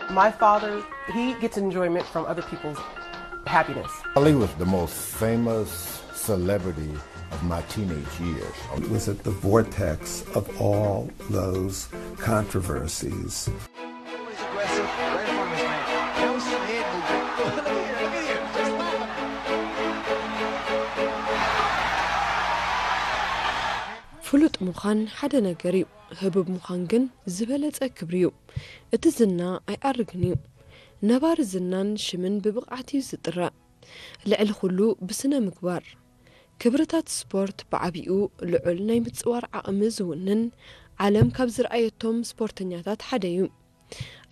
My father, he gets enjoyment from other people's happiness. Ali was the most famous celebrity of my teenage years. It was at the vortex of all those controversies. ፍሉጥ ምዃን ሓደ ነገር እዩ። ህቡብ ምዃን ግን ዝበለጸ ክብሪ እዩ። እቲ ዝና ኣይዓርግን እዩ። ነባሪ ዝናን ሽምን ብብቕዓት እዩ ዝጥረ። ልዕሊ ኩሉ ብስነ ምግባር። ክብርታት ስፖርት ብዓቢኡ ልዑል ናይ ምጽዋር ዓቕሚ ዝውንን ዓለም ካብ ዝረኣየቶም ስፖርተኛታት ሓደ እዩ።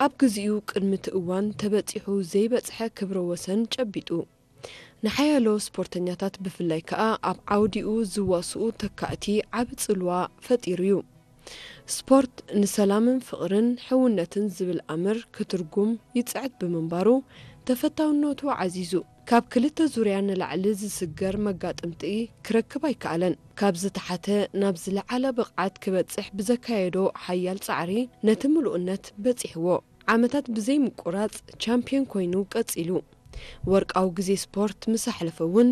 ኣብ ግዚኡ ቅድሚ እቲ እዋን ተበጺሑ ዘይበጽሐ ክብረ ወሰን ጨቢጡ። ንሓያሎ ስፖርተኛታት ብፍላይ ከኣ ኣብ ዓውዲኡ ዝዋስኡ ተካእቲ ዓቢ ጽልዋ ፈጢሩ እዩ። ስፖርት ንሰላምን ፍቕርን ሕውነትን ዝብል ኣምር ክትርጉም ይጽዕት ብምንባሩ ተፈታውነቱ ዓዚዙ። ካብ ክልተ ዙርያ ንላዕሊ ዝስገር መጋጥምቲ ክረክብ ኣይከኣለን። ካብ ዝተሓተ ናብ ዝለዓለ ብቕዓት ክበጽሕ ብዘካየዶ ሓያል ጻዕሪ ነቲ ምሉእነት በጺሕዎ። ዓመታት ብዘይ ምቁራጽ ቻምፕዮን ኮይኑ ቀጺሉ። ወርቃዊ ግዜ ስፖርት ምስ ኣሕለፈ እውን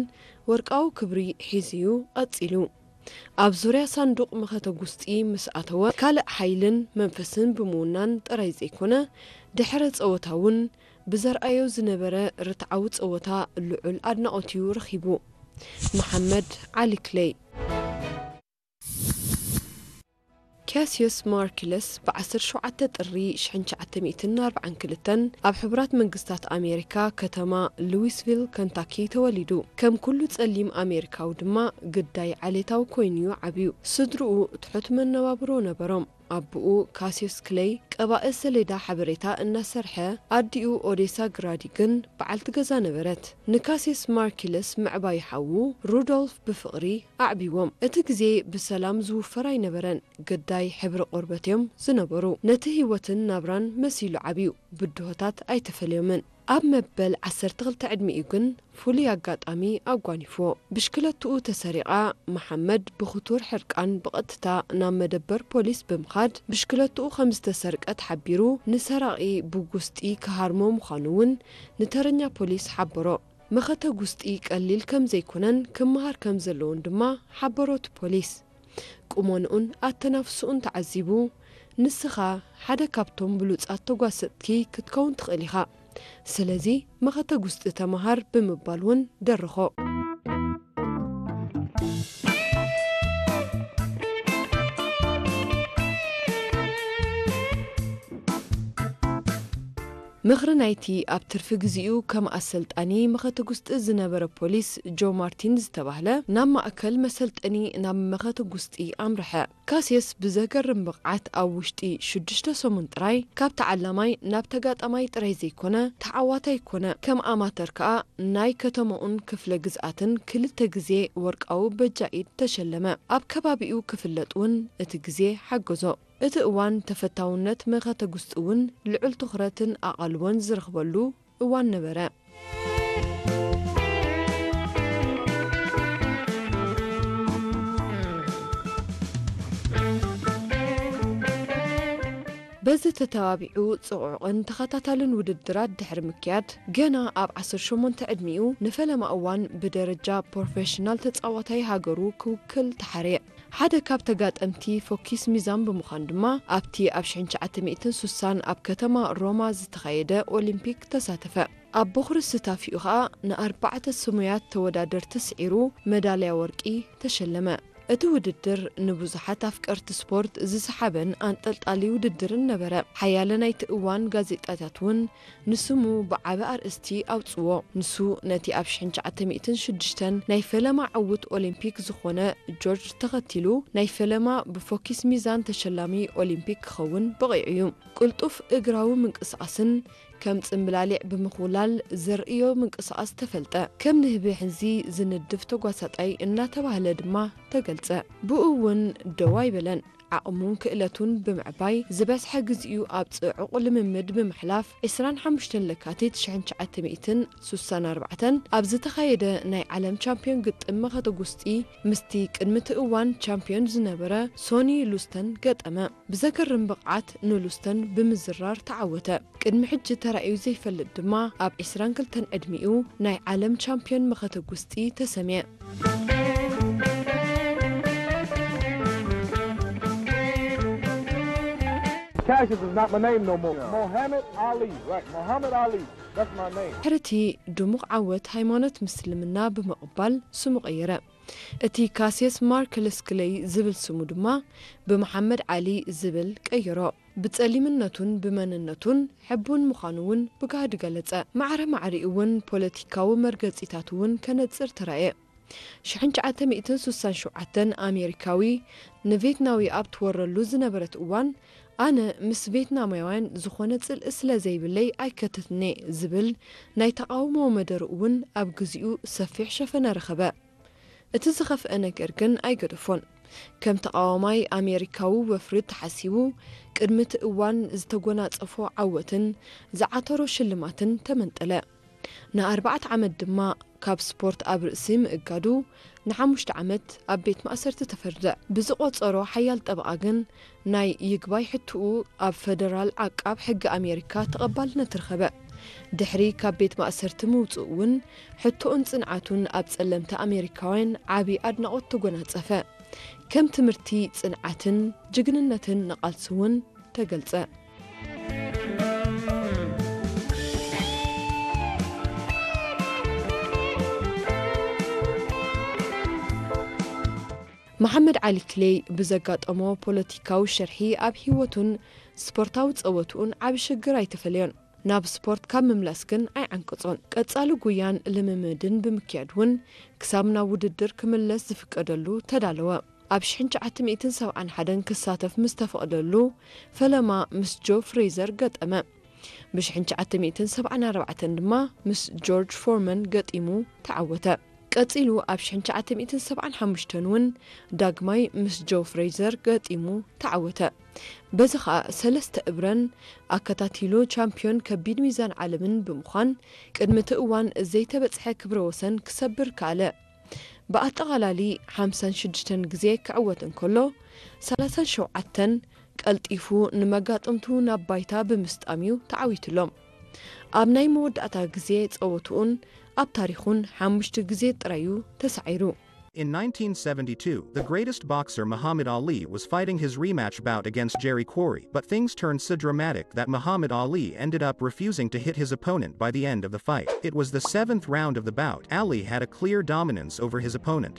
ወርቃዊ ክብሪ ሒዙ እዩ ቀጺሉ። ኣብ ዙርያ ሳንዱቕ መኸተ ጉስጢ ምስ ኣተወ ካልእ ሓይልን መንፈስን ብምውናን ጥራይ ዘይኮነ ድሕረ ጸወታ እውን ብዘርኣዮ ዝነበረ ርትዓዊ ጸወታ ልዑል ኣድናቖት እዩ ረኺቡ። መሓመድ ዓሊ ክለይ። ካሲዮስ ማርኪለስ ብ ዓሰርተ ሸውዓተ ጥሪ ሽሕን ትሽዓተ ሚእትን ኣርባዓን ክልተን ኣብ ሕቡራት መንግስታት ኣሜሪካ ከተማ ሉዊስቪል ከንታኪ ተወሊዱ። ከም ኩሉ ጸሊም ኣሜሪካዊ ድማ ግዳይ ዓሌታዊ ኮይኑ'ዩ ዓብዩ። ስድርኡ ትሑት መነባብሮ ነበሮም። ኣቦኡ ካሲዮስ ክለይ ቀባኢ ሰሌዳ ሓበሬታ እናሰርሐ፣ ኣዲኡ ኦዴሳ ግራዲ ግን በዓልቲ ገዛ ነበረት። ንካሲዮስ ማርኪለስ ምዕባይ ሓዉ ሩዶልፍ ብፍቕሪ ኣዕብይዎም። እቲ ግዜ ብሰላም ዝውፈር ኣይነበረን። ግዳይ ሕብሪ ቆርበት እዮም ዝነበሩ። ነቲ ህይወትን ናብራን መሲሉ ዓብዩ። ብድሆታት ኣይተፈልዮምን። ኣብ መበል ዓሰርተ ክልተ ዕድሚኡ ግን ፍሉይ ኣጋጣሚ ኣጓኒፍዎ። ብሽክለትኡ ተሰሪቓ። መሓመድ ብኽቱር ሕርቃን ብቐጥታ ናብ መደበር ፖሊስ ብምኻድ ብሽክለትኡ ከም ዝተሰርቀት ሓቢሩ ንሰራቒ ብጉስጢ ክሃርሞ ምዃኑ እውን ንተረኛ ፖሊስ ሓበሮ። መኸተ ጉስጢ ቀሊል ከም ዘይኮነን ክመሃር ከም ዘለዎን ድማ ሓበሮ እቲ ፖሊስ። ቁመንኡን ኣተናፍስኡን ተዓዚቡ፣ "ንስኻ ሓደ ካብቶም ብሉጻት ተጓሰጥቲ ክትከውን ትኽእል ኢኻ። ስለዚ መኸተ ጉስጢ ተመሃር" ብምባል እውን ደረኾ። ምኽሪ ናይቲ ኣብ ትርፊ ግዜኡ ከም ኣሰልጣኒ መኸተ ጉስጢ ዝነበረ ፖሊስ ጆ ማርቲን ዝተባህለ ናብ ማእከል መሰልጠኒ ናብ መኸተ ጉስጢ ኣምርሐ። ካሲየስ ብዘገርም ብቕዓት ኣብ ውሽጢ ሽዱሽተ ሰሙን ጥራይ ካብ ተዓላማይ ናብ ተጋጣማይ ጥራይ ዘይኮነ ተዓዋታይ ኮነ። ከም ኣማተር ከኣ ናይ ከተማኡን ክፍለ ግዝኣትን ክልተ ግዜ ወርቃዊ በጃ ኢድ ተሸለመ። ኣብ ከባቢኡ ክፍለጥ እውን እቲ ግዜ ሓገዞ። እቲ እዋን ተፈታውነት መኸተ ጉስጢ እውን ልዑል ትኹረትን ኣቓልቦን ዝረኽበሉ እዋን ነበረ። በዚ ተተባቢዑ ጽዑቕን ተኸታታልን ውድድራት ድሕሪ ምክያድ፣ ገና ኣብ ዓሰርተ ሸሞንተ ዕድሚኡ ንፈለማ እዋን ብደረጃ ፕሮፌሽናል ተጻዋታይ ሃገሩ ክውክል ተሓርየ። ሓደ ካብ ተጋጠምቲ ፎኪስ ሚዛን ብምዃን ድማ፣ ኣብቲ ኣብ ሽሕን ትሽዓተ ሚእትን ስሳን ኣብ ከተማ ሮማ ዝተኻየደ ኦሊምፒክ ተሳተፈ። ኣብ በኹሪ ስታፊኡ ኸኣ ንኣርባዕተ ስሙያት ተወዳደርቲ ስዒሩ መዳልያ ወርቂ ተሸለመ። እቲ ውድድር ንብዙሓት ኣፍቀርቲ ስፖርት ዝሰሓበን ኣንጠልጣሊ ውድድርን ነበረ። ሓያለ ናይቲ እዋን ጋዜጣታት እውን ንስሙ ብዓቢ ኣርእስቲ ኣውጽዎ። ንሱ ነቲ ኣብ ሽሕን ትሽዓተ ሚእትን ሽዱሽተን ናይ ፈለማ ዕዉት ኦሊምፒክ ዝኾነ ጆርጅ ተኸቲሉ፣ ናይ ፈለማ ብፎኪስ ሚዛን ተሸላሚ ኦሊምፒክ ክኸውን በቒዑ እዩ። ቅልጡፍ እግራዊ ምንቅስቓስን ከም ጽምብላሊዕ ብምኹላል ዘርእዮ ምንቅስቓስ ተፈልጠ። ከም ንህቢ ሕንዚ ዝንድፍ ተጓሳጣይ እናተባህለ ድማ ተገልጸ። ብኡ እውን ደው ኣይበለን። ዓቕሙን ክእለቱን ብምዕባይ፣ ዝበዝሐ ግዜኡ ኣብ ጽዑቕ ልምምድ ብምሕላፍ፣ ዕስራን ሓሙሽተን ለካቲት ሽሕን ትሽዓተ ሚእትን ስሳን ኣርባዕተን ኣብ ዝተኻየደ ናይ ዓለም ቻምፕዮን ግጥም መኸተ ጉስጢ፣ ምስቲ ቅድሚ እቲ እዋን ቻምፕዮን ዝነበረ ሶኒ ሉስተን ገጠመ። ብዘገርም ብቕዓት ንሉስተን ብምዝራር ተዓወተ። ቅድሚ ሕጂ ተራእዩ ዘይፈልጥ ድማ ኣብ ዕስራን ክልተን ዕድሚኡ ናይ ዓለም ቻምፕዮን መኸተ ጉስጢ ተሰምየ። Cassius is not my name no more. Muhammad Ali, right? Muhammad Ali, that's my name. ድሕሪ እቲ ድሙቕ ዓወት ሃይማኖት ምስልምና ብምቕባል ስሙ ቀየረ። እቲ ካስየስ ማርክ ለስክለይ ዝብል ስሙ ድማ ብመሓመድ ዓሊ ዝብል ቀየሮ። ብጸሊምነቱን ብመንነቱን ሕቡን ምዃኑ እውን ብጋህዲ ገለጸ። ማዕረ ማዕሪኡ እውን ፖለቲካዊ መርገጺታት እውን ከነጽር ተራእየ። ሽሕን ትሽዓተ ሚእትን ስሳን ሸውዓተን ኣሜሪካዊ ንቬትናዊ ኣብ ትወረሉ ዝነበረት እዋን፣ ኣነ ምስ ቬትናማውያን ዝኾነ ጽልኢ ስለ ዘይብለይ ኣይከተትን'የ ዝብል ናይ ተቓውሞ መደርኡ እውን ኣብ ግዜኡ ሰፊሕ ሸፈነ ረኸበ። እቲ ዝኸፍአ ነገር ግን ኣይገደፎን። ከም ተቓዋማይ ኣሜሪካዊ ወፍሪ ተሓሲቡ፣ ቅድሚ እቲ እዋን ዝተጎናጸፎ ዓወትን ዝዓተሮ ሽልማትን ተመንጠለ። ንኣርባዕተ ዓመት ድማ ካብ ስፖርት ኣብ ርእሲ ምእጋዱ ንሓሙሽተ ዓመት ኣብ ቤት ማእሰርቲ ተፈርደ። ብዝቖጸሮ ሓያል ጠበቓ ግን ናይ ይግባይ ሕቶኡ ኣብ ፈደራል ዓቃብ ሕጊ ኣሜሪካ ተቐባልነት ረኸበ። ድሕሪ ካብ ቤት ማእሰርቲ ምውጽኡ እውን ሕቶኡን ጽንዓቱን ኣብ ጸለምቲ ኣሜሪካውያን ዓቢ ኣድናቖት ተጎናጸፈ። ከም ትምህርቲ ጽንዓትን ጅግንነትን ንቓልሲ እውን ተገልጸ። መሓመድ ዓሊ ክሌይ ብዘጋጠሞ ፖለቲካዊ ሽርሒ ኣብ ህይወቱን ስፖርታዊ ጸወትኡን ዓቢ ሽግር ኣይተፈለዮን። ናብ ስፖርት ካብ ምምላስ ግን ኣይዓንቀጾን። ቀጻሊ ጉያን ልምምድን ብምክያድ እውን ክሳብ ናብ ውድድር ክምለስ ዝፍቀደሉ ተዳለወ። ኣብ ሽሕን ትሽዓተ ሚእትን ሰብዓን ሓደን ክሳተፍ ምስ ተፈቕደሉ ፈለማ ምስ ጆ ፍሬዘር ገጠመ። ብሽሕን ትሽዓተ ሚእትን ሰብዓን ኣርባዕተን ድማ ምስ ጆርጅ ፎርመን ገጢሙ ተዓወተ። ቀጺሉ ኣብ ሽሕን ትሽዓተ ሚእትን ሰብዓን ሓሙሽተን እውን ዳግማይ ምስ ጆ ፍሬዘር ገጢሙ ተዓወተ። በዚ ኸኣ ሰለስተ እብረን ኣከታቲሉ ቻምፕዮን ከቢድ ሚዛን ዓለምን ብምዃን ቅድሚ እቲ እዋን ዘይተበጽሐ ክብረ ወሰን ክሰብር ከኣለ። ብኣጠቓላሊ ሓምሳን ሽዱሽተን ግዜ ክዕወት እንከሎ፣ ሰላሳን ሸውዓተን ቀልጢፉ ንመጋጥምቱ ናብ ባይታ ብምስጣም እዩ ተዓዊቱሎም። ኣብ ናይ መወዳእታ ግዜ ጸወትኡን ኣብ ታሪኹን ሓሙሽተ ግዜ ጥራይ እዩ ተሳዒሩ። In nineteen seventy-two, the greatest boxer Muhammad Ali was fighting his rematch bout against Jerry Quarry, but things turned so dramatic that Muhammad Ali ended up refusing to hit his opponent by the end of the fight. It was the seventh round of the bout. Ali had a clear dominance over his opponent.